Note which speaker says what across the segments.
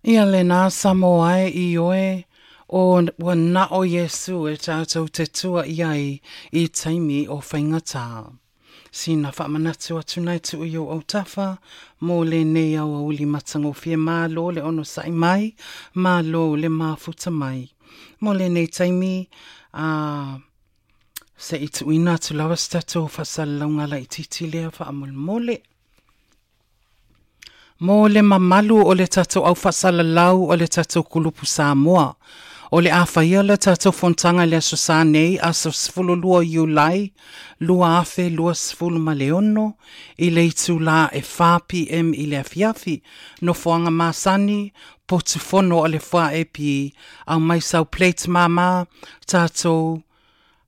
Speaker 1: Ia lena Samoa e, ioe, o ua na o Iesu e tatou te tua i ai i taimi o faigata. Sina faamanatu atu na e tuu i ou autafa mo lenei aoauli matagofie. Malo le onosa'i mai, malo le mafuta mai. Mo lenei taimi, a se i tuuina atu lava se tatou faasalalauga laitiiti lea faamolemole. Mo le mamalu o le tatou au faasalalau o le tatou kulupu Samoa. O le a faia le tatou fonotaga i le Aso Sa nei, aso 12 Iulai 2026 i le itulā e 4 PM i le afiafi. Nofoaga masani, potu fono o le FAEP, aumai sau plate māmā, tatou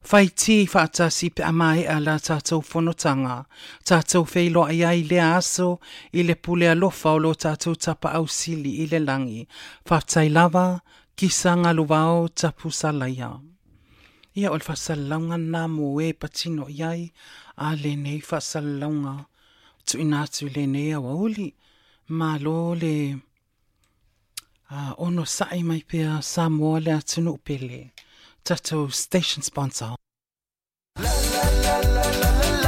Speaker 1: fai ti faatasi pe a maea la tatou fonotaga. Tatou feiloai ai lea aso i le pule alofa o lo tatou Tapaau Sili i le lagi. Faafetai lava, kisa galuvao tapu salaia. Ia o le faasalalauga lena mo e patino i ai a lenei faasalalauga tuuina atu i lenei aoauli. Malo le onosa'i mai pea Samoa le atunuu pele. Tatou station sponsor.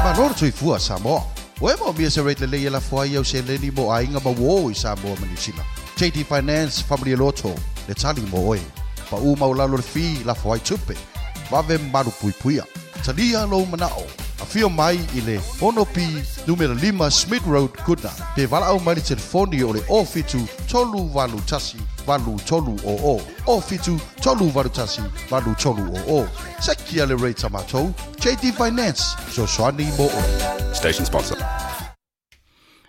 Speaker 2: Malo le soifua Samoa. Ua e maomia se rate lelei e lafo ai au seleni mo aiga ma uō i Samoa ma Niu Sila? JD Finance Family Loto le tali mo oe. Paʻu maualalo le fee lafo ai tupe. Vave malu puipuia. Talia lou manao. Afio mai i le 6B numera 5 Smith Road, Goodna. Pe valaau mai le telefoni o le 07 381 8300. 07 381 8300. Sekia le rate a matou. JD Finance, fesoasoani mo oe.
Speaker 3: Station sponsor.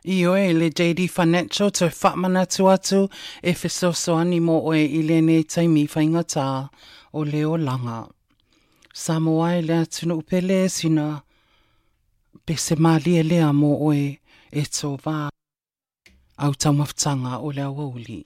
Speaker 1: Ioe, le JD Financial toe faamanatu atu e fesoasoani mo oe i lenei taimi faigata o le olaga. Samoa e le atunuu pele sina pese malie lea mo oe e tova au taumafataga o le aoauli.